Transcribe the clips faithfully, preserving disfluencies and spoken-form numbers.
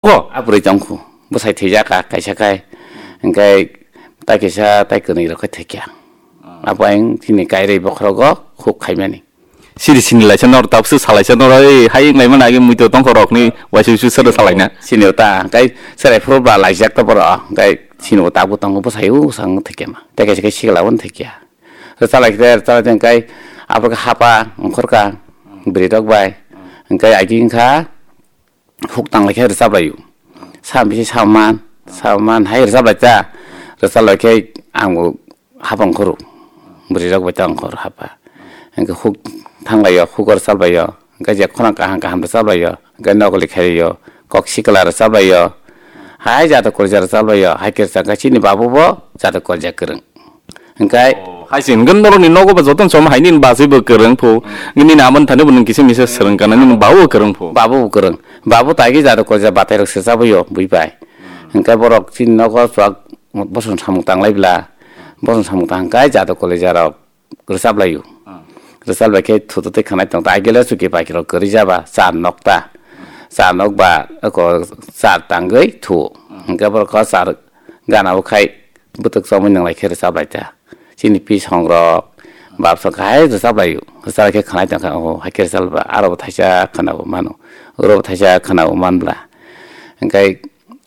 Ko? A bwrwi tongkhu. Bwsai thwijak kha kaisa khai. Hwnkhe tai kaisa tai kwnwi rok khe thwikya. Abo ayang chini kairwi bokhorogo huk khaimani. Siri sini laisa nor tapsu salaisa nor, ei, hai wnglaimani agi muito tongkho rokni waisa waisa sero salaina. Sini ta, hwnkhe serai phuru ba laijak ta boro, hwnkhe sini bo tabuk tongo bwsai o sang thwikya ma. Tai kaisa khai sikla bo thwikya. Rwchalai khe rwchalai hwnkhe abo khe hapa ongkhorka bwrwi rok bai. Hwnkhe agi wngkha huk tanglai khe rwchap laio. Sa bisi sa man, sa man hai rwchap lai ta. Rwchap lai khe ang bo hapa ongkhoro. Bwrwi rok bai ta ongkhor hapa. Hwnkhe huk thang laio, huk rwchap laio. Hwnkhe je khorang kaham kaham rwchap laio. Hwnkhe nokoli khaio, kok sikla rwchap laio. Hai jatwi kolja rwchap laio. Hai khe rwchap khe chini babu bo jatwi kolja kwrwng. Hwnkhe hai se hwnkhe norokni nogo ba jotono chom hai nini bachwi bo kwrwng phu. Nini amoni thani bo nwng kisa misa swrwng kana nini babu bo kwrwng phu. Babu bo kwrwng. Babu tai khe jatwi kolja batai rok swrwchap laio bui bai. Hwnkhe borok chini nogo chuak bosong samung tanglai bla. Bosong samung tang hwnkhe jatwi kolja rok rwchap laio. Rwchap lai khe thutu tei khanai tong ta. Agele chuki paikhe rok kwrwi jaba char nok ta. Char nok ba ko char tangwi thu. Hwnkhe borok ko char gana o khai bwtwk chomwi nang lai khe rwchap lai ta. Chini pisong rok bap song khai rwchap laio. Rwchap lai khe khanai tong kha o hai khe rwchap ba aro bo thaisa khana bo mano. Oro bo thaisa khana bo man bla. Hwnkhe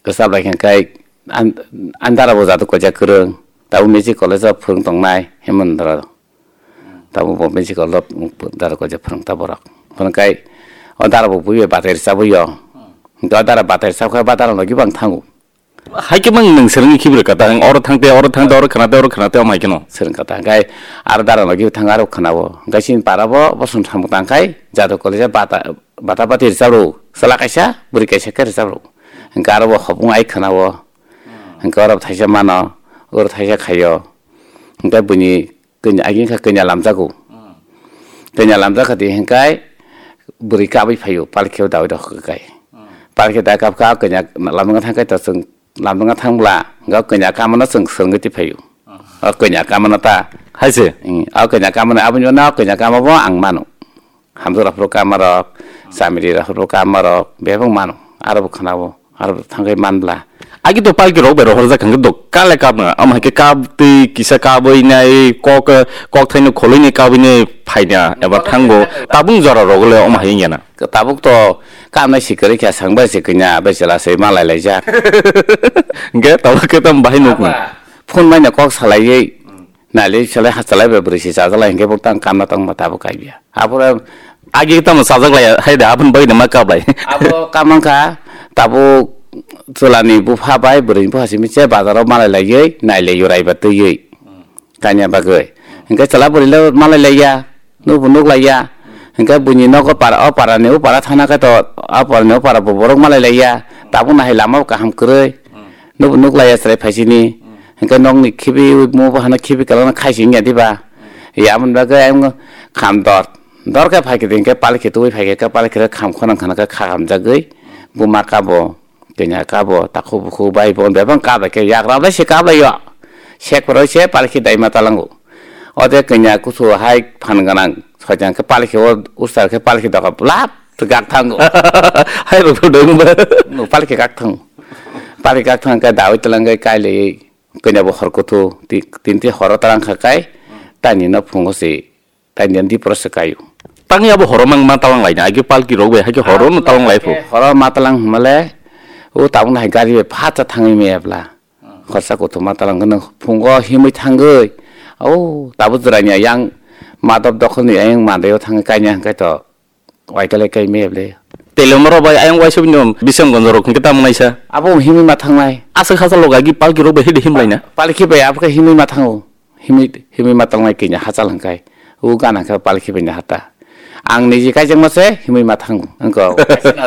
rwchap lai khe hwnkhe an-, andara bo jatwi kolja kwrwng. Tabuk music college o phwrwng tongnai Hemendra. Tabuk bo music college o dara kolja phwrwng ta borok. Phwrwng kai o dara bo bui bai batai rwchabwi o. Hwnkhe o dara batai rwchap khe ba dara logi bo ang thango. Hai khe mang nwng swrwngwi khibi rwkha ta, ang oro thang te, oro thang te, oro khna te, oro khna te, omo hai kheno. Swrwng kha ta, hwnkhe aro dara logi bo thang aro khna o. Hwnkhe chini para bo bosong samung tang khai jatwi kolja bata, bata bati rwchap rw. Chwla kaisa, bwrwi kaisa khe rwchap rw. Hwnkhe aro bo hopung ai khna o. Hwnkhe oro thaisa mano, oro thaisa khaio. Hwnkhe buini kanya, agi wngkha kanya lamjago. Kanya lamjak kha di hwnkhe bwrwi kabwi phaio, palkhe o dawi rok kai. Palkhe da kap kha kanya lamjak thang kai to chwng lamjak thang bla, hwnkhe kanya kamano chwng swrwngwi twi phaio. O kanya kamano ta. Hai se? Ing, o kanya kamano aboni uanw kanya kama bo ang mano. Hamjwk rok phuru kama rok, chamiri rok phuru kama rok, bebak mano, aro bo khna o, aro bo thang khe man bla. Agi to palki rok bai rohorjak hwnkhe do kale kabna, omo hai khe kab twi kisa kabwi nai kok, kok thaino kholwi ni kabwi nai phaina eba thango, tabung jora rok le omo hai wngya na. Tabuk to kabnai si kwrwi kha, sang bai si kanya, bai chwla se malai laijak. Hwnkhe tabuk khe tamo bahai nukni. Phone bai no kok salaiwi, nailai salai ha salai bai bwrwi si chajalai hwnkhe bo tang kamna tongma tabuk kaiya. Aphuru agi tamo sajak lai hai da, aboni bagwi ma kap lai. Abo kamang kha, tabuk chwlani bupha bai bwrwini bupha simi se bazaro malai laiwi, nailai yurai ba twiwi. Kanya bagwi. Hwnkhe chwla bwrwi le malai laiya, nukbo nuk laiya. Hwnkhe buini nogo para, o parani o para thana khe to, o parani o para bo borok malai laiya. Tabuk nahai lama bo kaham kwrwi. Nukbo nuk laiya chwrai phaisini. Hwnkhe nokni khibi, mo bo hano khibi kwlangno khaisi wngya diba? Ya, aboni bagwi ayang kham dor. Dor khe phai khe hwnkhe palik khe tubui phai khe, palik khe kham khonang khana khe kham jagwi buma kabo, kanya kabo, takhuk bukhuk bai bo bebang kap lai khe yagra bai se kap lai yo. Sek phoro se palik khe daima talango. O de kanya kusu hai phan gwnang soitang khe palik khe o usar khe palik khe doka lap gak thango. Hai rok dong ba. No palik khe gak thango. Palik gak thang khe dawi talang khe kai lai. Kanya bo hor kuthu, ti-, tinti horo tarang kha kai, tani no phungo se, tani di pro se kayu. Tangya bo horo mang ma talang laina, agi palki rok bai, hagi horo no talang lai phu. Horo ma talang hmale, o tabuk nahai gari bai phatsa thangwi maya bla. Khorsa kuthu ma talang no phungo himwi thangwi, o tabuk jwranya yang madop dokhol ni ayang mandaio thangwi kanya hwnkhe to. Waikale kai me ble. Tele moro bai ayang waisa bini bisam gonjo rok hwnkhe tamo naisa. Abo himwi ma thangnai. Aswk hachal loga gi palki rok bai hede himlaina. Palki bai abo khe himwi ma thango. Himwi, himwi ma tangnai kini hachal hwnkhe. U gana khe palki bai ni hata. Ang niji kaijakma se himwi ma thango. Wngkha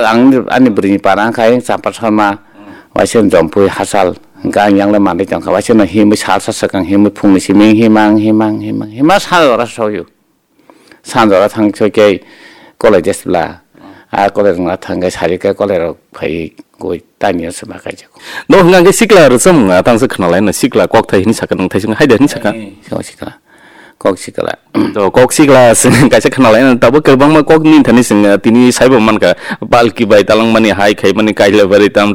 ang ani bwrwini para wngkha ayang Champa Sharma. Waisa jompui hachal. Wngkha ang yang le manwi tongkha. Waisa no himwi salsa swkang himwi phungni simi himang himang himang himang sal ora soyo. Sanjora thang soi khe college jesbla. A college wngna thang khe sari khe college rok phai goi tani se ma kaijak. No hwnga khe sikla rwchapmung a tang se khna lai no sikla kok thai hini saka nang thai sing hai da hini saka. Sikla. Kok sikla. To kok sikla kaisa khnalai, tabuk kwbangma kok ni thani sing tini saibo mankha, palki bai talangmani, hai khaimani, kailabari tam tam.